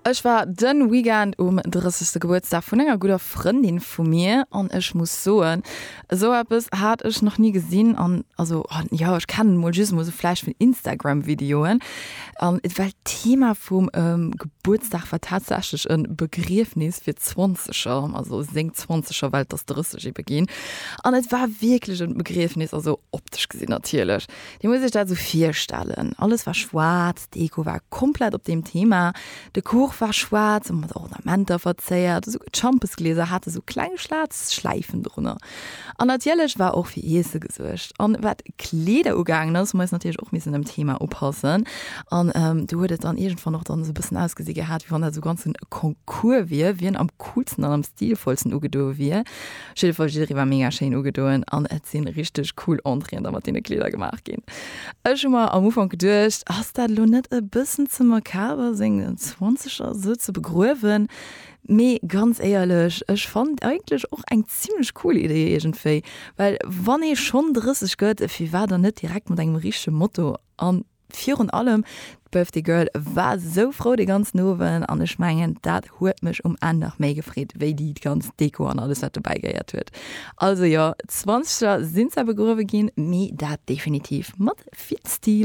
Ech war den Weekend um 30. Gebuertsdag vun enger gudder Frëndin vu mir an ech muss soen, esou eppes hat ech nach ni gesinn an also jo ech kennen mol just mol sou vläicht vun Instagram Videoen an well d'Thema vum Gebuertsdag war tatsächlech en Begriefnis fir Zwanzeger, also seng Zwanzeger well et ass 30 ebe ginn an et war wierklech en Begriefnis, also optesch gesinn natierlech. Dir musst iech dat esou virstellen, alles war schwaarz, d'Deko war komplett op deem Thema, de Kuch war schwaarz a mat Ornamenter verzéiert, esouguer d'Schampesglieser hate sou kleng schwaarz Schläifen drunner. An natierlech war och fir Iesse gesuergt. An wat d'Kleeder ugaangen ass, hu mer eis natierlech och missen dem Thema upassen. An do huet et dann iergendwann och dann esou e bëssen ausgesi gehat, wéi wann dat esou ganz en Concours wier, wien am coolsten an am stilvollsten ugedoe wier. Op jidde Fall, jidderee war mega schéin ugedoen an et sinn richteg cool Entréeën da mat deene Kleeder gemaach ginn. Ech hu mer am Ufank geduecht, ass dat elo net e bëssen ze makaber seng Zwanzeger esou ze begruewen? Mee ganz éierlech, ech fannen eigentlech och eng zimlech cool Idee iergendwéi, well wann ee schonn 30 gëtt, firwat dann net direkt mat engem richtege Motto an Virun allem d'Birthday Girl war sou frou de ganzen Owend an ech mengen dat huet mech um Enn nach méi gefreet wéi déi ganz Deko an alles wat dobäi gehéiert huet. Also jo, Zwanzeger sinn zwar begruewe ginn, mee dat definitiv mat vill Stil.